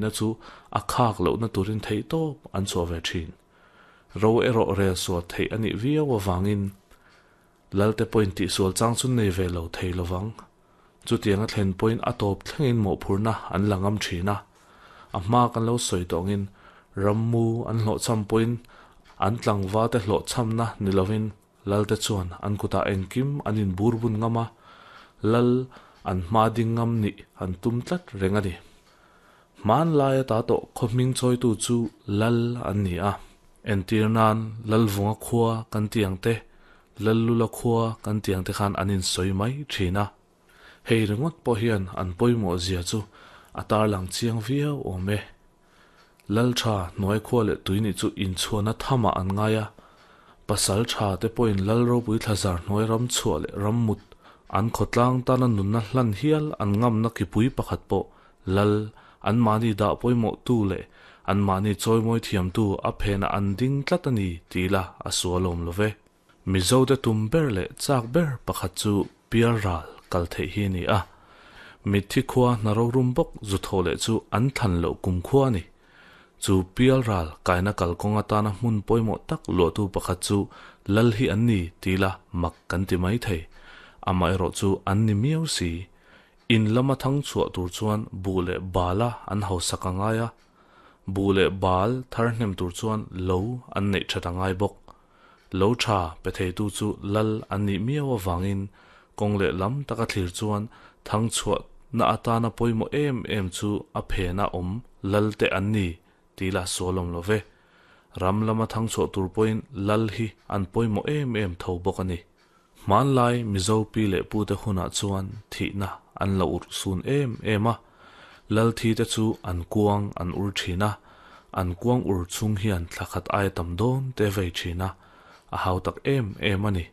nihna chu a khak lohna turin theihtawp an chhuah ve thin. Ro erawh rel sual theih a nih viau avangin Lalte pawhin tihsual chang chu nei ve lo thei lovang. Chutianga thlen pawhin a tawp thlengin mawhphurhna an la ngam thin a. A hma kan lo sawi tawh angin rammu an hlawhchham pawhin an tlangvate hlawhchhamna ni lovin Lalte chuan an kutah engkim an inbur bun ngam a, Lal an hma ding ngam nih an tum tlat reng a ni. Hmanlai ata tawh khaw hming chawitu chu Lal an ni a. Entir nan Lalvunga khua kan ti ang te, Lallula khua kan ti ang te khan an insawi mai thin a. Hei ringawt pawh hian an pawimawh zia chu a tarlang chiang viau awm e. Lal tha hnuai khua leh tui nih chu inchhuahna thamah an ngai a, pasal tha te pawhin Lal ropui thlazar hnuai ram chhuah leh ram mut an khawtlang tana nunna hlan hial an ngamna kipui pakhat pawh Lal anmahni dah pawimawhtu leh anmahni chawimawi thiamtu a phenah an ding tlat a ni ti ila a sualawm lo ve. Mizote tum ber leh chak ber pakhat chu pialral kal theih hi a ni a. Mitthi khua hna rorum bawk zu tho leh chu an thlan loh kum khua a ni. Chu pialral kaina kalkawng atana hmun pawimawh tak luahtu pakhat chu lal hi an ni ti ila mak kan ti mai thei. Amaherawh chu an ni miau si. In lama thang chhuah tur chuan buh leh bala an hausak a ngai a. Buh leh bal thar hnem tur chuan lo an neih that a ngai bawk. Lo tha pe theitu chu lal an nih miau avangin kawng leh lam taka thlir chuan thang chhuahna atana pawimawh em em chu a phena awm lal te an ni tih lah sual awm lo ve. Ram lama thang chhuah tur pawhin lal hi an pawimawh em em tho bawk a ni. Hmanlai Mizo pi leh pute hunah chuan thihna an lo urh sun em em a, lal thi te chu an kuang an ur thin a, an kuang ur chung hian thla khat aia tam dawn te vei thin a, a hau tak em em a ni.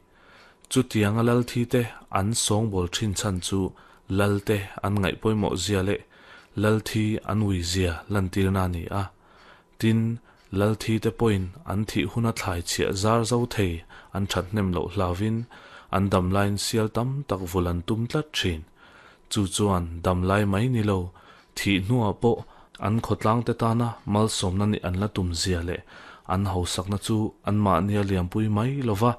Chutianga lal thi te an sawngbawl thin chhan chu lal te an ngaih pawimawh zia leh lal thi an ui zia lantirna a ni a. Tin, Lalthi te pawhin an thih huna thlai chhiah zar zo thei an that hnem loh hlauvin an damlaiin sial tam tak vul an tum tlat thin. Chu chuan damlai mai ni lo, thih hnuah pawh an khawtlang te tana malsawmna nih an la tum zia leh an hausakna chu anmahnia liampui mai lova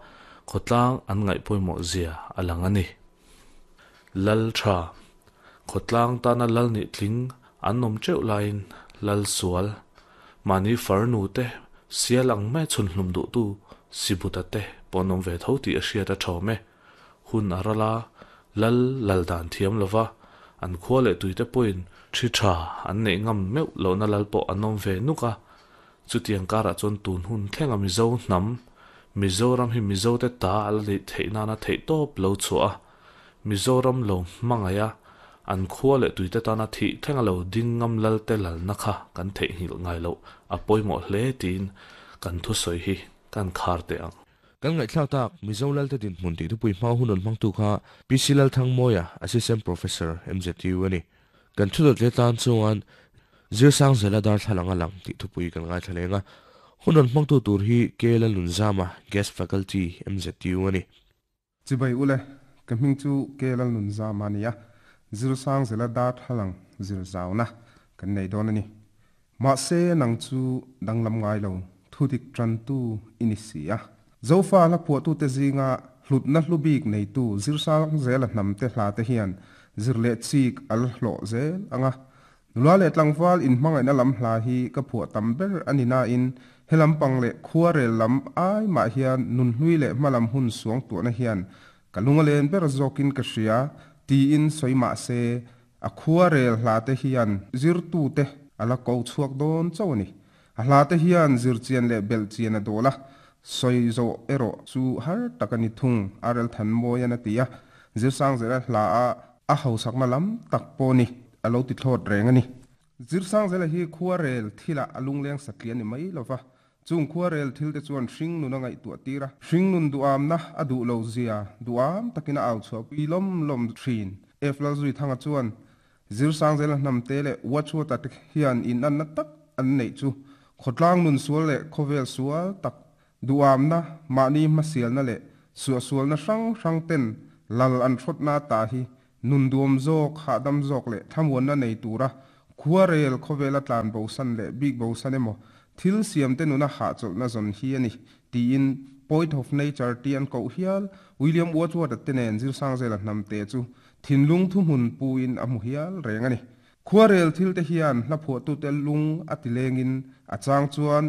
khawtlang an ngaih pawimawh zia a lang a ni. Lal tha, khawtlang tana lal nih tling an awm teuh laiin lal sual, mahni farnu te sial ang mai chhun hlum duhtu Sibuta te pawh an awm ve tho tih a hriat a thawm e. Hun a ral a, lal lal dan thiam lova, an khua leh tuite pawhin thi tha an neih ngam meuh lohna lal pawh an awm ve nuk a. Chutiang karah chuan tun hun thlenga Mizo hnam, Mizoram hi Mizote ta a la neih theih nana theihtawp lo chhuah a, Mizoram lo hmangaih a, an khua leh tuite tana thih thlenga lo ding ngam lalte lalna kha kan theihnghilh ngai loh a pawimawh hle tiin kan thusawi hi kan khar teh ang. Kan ngaihthlak tak, Mizo Lalte dinhmun tih thupui hma hun rawn hmangtu kha PC Lalthangmawia, Assistant Professor, MZU a ni. Kan thu dawt leh tan chuan Zirsangzela darthlalang a lang tih thupui kan ngaithla leng a. Hun rawn hmangtu tur hi KL Nunzama, Guest Faculty, MZU a ni. Chibai ule, ka hming chu KL Nunzama a ni a, Zirsangzela darthlalang zir zauna kan nei dawn a ni. Mahse nang chu danglam ngai lo, thudik tantu i ni si a. Zofa hla phuahtute zinga hlutna hlu bik neitu Zirsangzela hnamte hlate hian zir leh chik a la hlawh zel ang a. Nula leh tlangval inhmangaihna lam hla hi ka phuah tam ber a ni nain he lampang leh khuarel lam ai mah hian nunhlui leh hmalam hun suangtuahna hian ka lung a len ber zawkin ka hria tiin sawi mah se A khuarel hlate hian zirtute a la ko chhuak dawn chauh a ni. A hlate hian zirchian leh belhchian a dawl a, sawi zawh erawh chu har tak a ni thung, RL Thanmawian a ti a. Zirsangzela hla a a hausakna lam tak pawh ni a lo ti thlawt reng a ni. Zirsangzela hi khuarel thilah a lungleng satliah a ni mai lova, Chung khuarel thil te chuan hringnun a ngaihtuah tir a, hringnun duamna a duh lo zia duam takin a au chhuahpui lawm lawm thin. F. Lalzuithanga chuan Zirsangzela hnamte leh Watchwata te hian inanna tak an neih chu khawtlang nun sual leh khawvel sual tak duamna, mahni hmasialna leh suahsualna hrang hrang ten lal an hrawtna ta hi nun duam zawk, hahdam zawk leh thlamuanna nei tura Khuarel khawvela tlan bosan leh bik bosan emaw, thil siamte nuna hahchawlhna zawn hi a ni, tiin Poet of Nature tia an koh hial William Wordsworth-a te nen Zirsangzela hnamte chu thinlung thuhmun puin a hmu hial reng a ni. Khuarel thilte hian hla phuahtute lung a ti lengin a chang chuan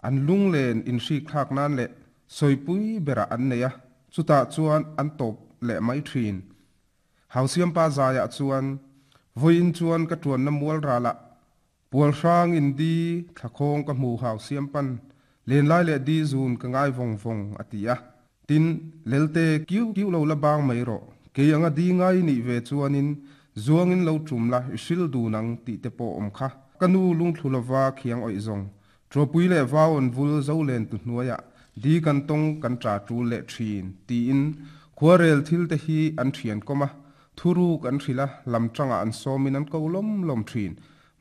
an lunglen inhrik thlak nan leh sawipui berah an nei a, chutah chuan an tawp leh mai thin. Hausiampa zaiah chuan, Vawiin chuan ka tuanna mual ralah Pual hrang in di thlakhawng ka hmu Hausiampan lenlai leh di zun ka ngai vawng vawng a ti a. Tin, Lelte kiu kiu lo la bang mai rawh, kei anga di ngai i nih ve chuanin zuangin lo tum la i hril dun ang tih te pawh awm kha. Ka nu lungthlu lova khiang awih zawng, Ṭuapui leh vauawn vul zo len tu hnuaiah di kan tawng kan ṭa ṭul leh ṭhin tiin khuarel thil te hi an ṭhian kawm a, thuruk an hrilh a, lam ṭangah an sawmin an ko lawm lawm ṭhin.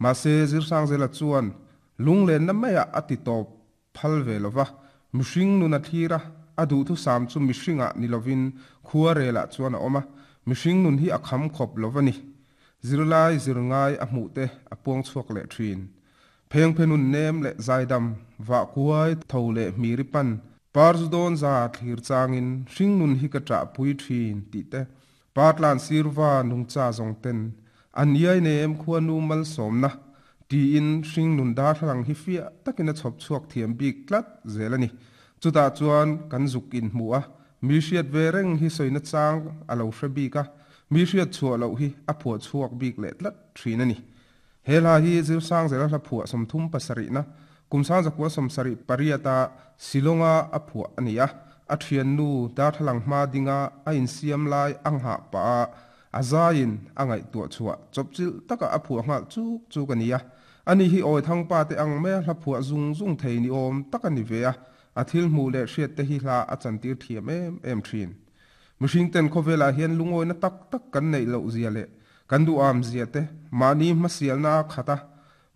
Mahse, Zirsangzela chuan lunglenna maiah a ti tawp phal ve lo va, mihring nun a thlir a, a duhthusam chu mihringah ni lovin khuarelah chuan a awm a, mihring nun hi a kham khawp lo va ni. Zirlai zir ngai a hmuh te a puang chhuak leh ṭhin. Phengphe nun nem leh zaidam, vah kuai, tho leh hmiri pan, parzu dawn za thlir changin hringnun hi ka ṭahpui ṭhin tih te, partlan sirva nungcha zawng ten an iai nem khuanu malsawmna tiin hringnun darthlalang hi fiah takin a chhawp chhuak thiam bik tlat zel a ni. Chutah chuan kan zuk inhmu a, mi hriat ve reng hi sawina chang a lo hre bik a, mi hriat chhuah loh hi a phuah chhuak bik leh tlat ṭhin a ni. He hla hi Zirsangzela hla phuah 37na, kum 1978a Shillong-a a phuah a ni a. A thiannu darthlalang hma dinga a insiam lai a nghah pah a, a zaiin a ngaihtuah chhuah chawpchilh taka a phuah nghal chuk chuk a ni a. Ani hi Awithangpa te ang maia hla phuah zung zung thei ni awm tak a ni ve a, a thil hmuh leh hriat te hi hla a chantir thiam em em thin. Mihring ten khawvelah hian lungawina tak tak kan neih loh zia leh Kan duham zia te, mahni hmasialna a khat a,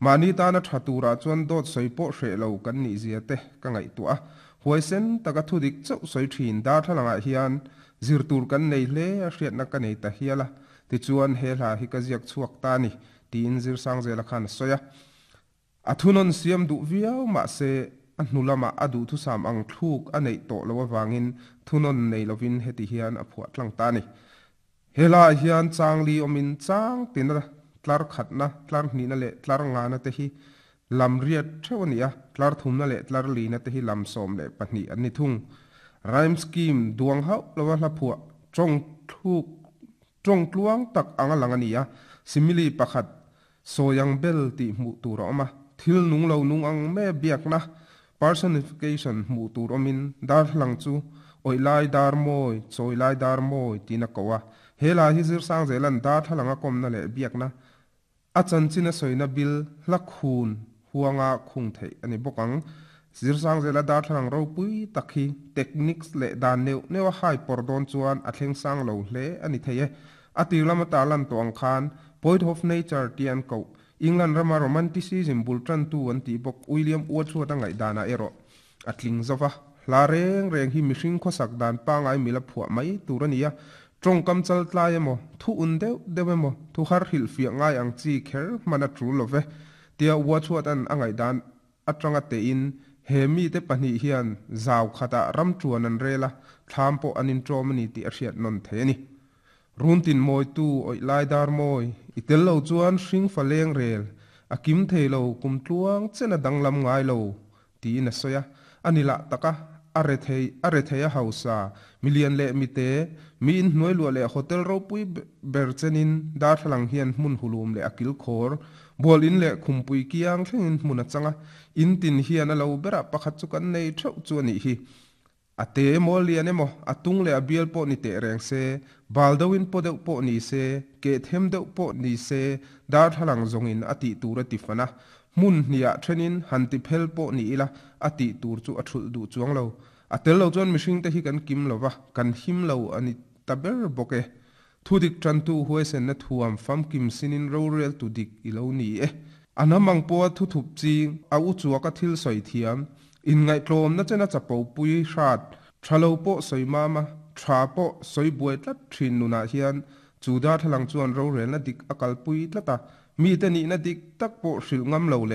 mahni tana tha turah chuan dawt sawi pawh hreh lo kan nih zia te ka ngaihtuah a, huaisen taka thudik chauh sawi thin darthlalangah hian zir tur kan nei hle a hriatna ka nei ta hial a, tichuan he hla hi ka ziak chhuak ta a ni, tiin Zirsangzela khan a sawi a. A thunawn siam duh viau mahse a hnu lamah a duhthusam ang thluk a neih tawh loh avangin thunawn nei lovin heti hian a phuah tlang ta a ni. He hlaah hian chang li awmin chang tina tlar khatna, tlar hnihna leh tlar ngana te hi lam riat theuh a ni a, tlar thumna leh tlar lina te hi lam 12 an ni thung. Rhyme scheme duang hauh lova hla phuah tawng thluk tawng tluang tak anga lang a ni a, simile pakhat Sawi ang bel tih hmuh tur a awm a, thil nung lo nung ang mai a biakna, personification, hmuh tur awmin darthlalang chu awih lai dar mawi, chawi lai dar mawi tiin a ko a. He hla hi Zirsangzela'n darthlalang a kawmna leh biakna, a chanchin a sawina bil hla khun huanga khung theih a ni bawk ang. Zirsangzela darthlalang ropui tak hi techniques leh dan neuh neuh a hai pawr dawn chuan a thleng sang lo hle a ni thei e. A tir lama tarlan tawh ang khan Poet of Nature tia an koh, England rama Romanticism bul tantu an tih bawk William Wordsworth-a ngaihdanah erawh a tling zo va. Hla reng reng hi mihring khawsak dan pangai mila phuah mai tur a ni a, tawngkam chal tlai emaw, thu un deuh deuh emaw, thu har hrilhfiah ngai ang chi kher hman a tul lo ve, tia Wordsworth-a'n a ngaihdan atanga tein he mite pahnih hian zau khatah ram tuan an rel a, thlam pawh an inṭawm a ni tih a hriat nawn thei a ni. Runtin mawitu awih lai dar mawi, i tel lo chuan hring fa leng rel, a kim thei lo kum tluang chen a danglam ngai lo, tiin a sawi a. A ni lah tak a, a rethei, a rethei a hausa, milian leh mite, mi inhnuai luah leh hotel ropui ber chenin darthlalang hian hmun hulum leh a kilkhawr, bual in leh khumpui kiang thlengin hmun a chang a, in tin hian a lo berah pakhat chu kan nei theuh chu a nih hi. A te emaw lian emaw, a tung leh a bial pawh ni teh reng se, bal deuhin paw deuh pawh ni se, keh them deuh pawh ni se, darthlalang zawngin a tih tur a ti fan a. Hmun hniah thenin han ti phel pawh ni ila, a tih tur chu a thulh duh chuang lo. A tel lo chuan mihringte hi kan kim lo va, kan him lo a ni ta ber bawk e. Thudik tantu huaisenna thuam famkim sinin roreltu dik i lo ni e. A hnam ang pawha thuthup ching, a u chuaka thil sawi thiam, inngaihtlawmna chena chapo pui hrat, tha lo pawh sawi mama, tha pawh sawi buai tlat thin nunah hian chu darthlalang chuan rorelna dik a kalpui tlat a. Mite nihna dik tak pawh hrilh ngam lo leh.